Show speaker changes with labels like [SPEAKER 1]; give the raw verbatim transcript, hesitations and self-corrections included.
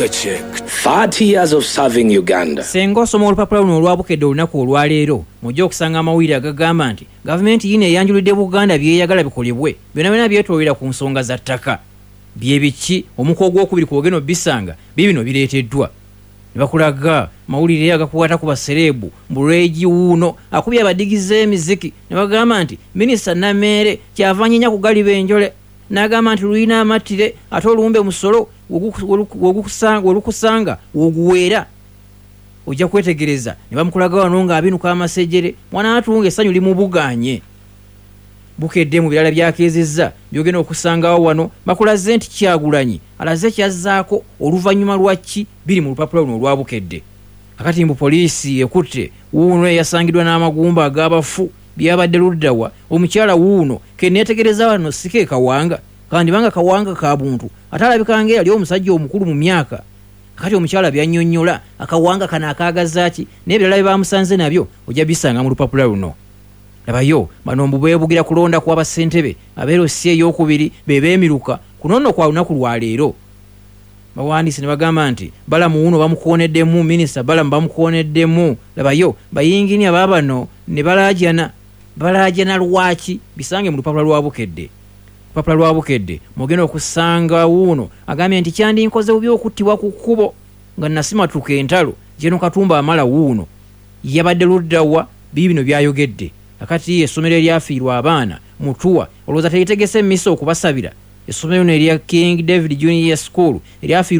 [SPEAKER 1] Sugar Chick. thirty years of serving Uganda.
[SPEAKER 2] Senga osoma olupapula luno olwabukedde olunaku olwaleero, mujja okusanga amawulire agagamba nti gavumenti yino eyanjulidde Buganda byeyagala bikolebwe byonna byonna byetoolera ku nsonga za ttaka. Bye biki? Omuko ogwokubiri kwogenda obisanga bibino bireeteddwa. Ne bakulaga mawulire agakwata ku basereebu mbu wuuno akubye abadigize emiziki, ne bagamba nti minisita Nameere kyava anyinya ku galiba enjole, n'agamba nti lulina amattire ate olumbe musolo wolukusanga woguweera. Ojja kwetegereza ne bamukulaga wano ng'abinuka amasejere, mwana atunga essanyu limubugaanye. Bukedde mu birala byakeezezza byogenda okusangawo wano, bakulaze nti Kyagulanyi alaze kyazzaako oluvannyuma lwa ki biri mu lupapula luno olwa Bukedde. Kakati mbu poliisi ekutte wuuno eyasangiddwa n'amagumba ag'abafu byabadde luddawa, omukyala wuuno ke neetegereza wano si ke Kawanga, kandi banga Kawanga ka buntu ate alabika ng'eyali omusajja omukulu mu myaka. Kakati omukyala byannyonnyola akawanga kano akaagaza ki n'ebirala bye bamusanze nabyo ojja bisanga mu lupapula luno. Labayo bano mbu beebugira kulonda kwa bassentebe abeero si ey'okubiri be beemiruka kuno nno kwa lunaku lwa leero. Bawandiise ne bagamba nti Balamu wuuno bamukooneddemu, minisita Balamu bamukooneddemu. Labayo bayinginiya baabano ne balaajana, balaajana lwaki bisange mu lupapula lwa Bukedde. Lupapula lwa Bukedde mugenda okusanga wuuno agambye nti kyandinkoze bubi okuttibwa ku kkubo nga nasimatuka entalo. Jeno Katumba amala wuuno yabadde luddawa bibi bino byayogedde. Kakati essomero eryafiirwa abaana Mutuwa olowooza teritegese emmisa okubasabira. Essomero lino erya King David Junior School eryafiirwa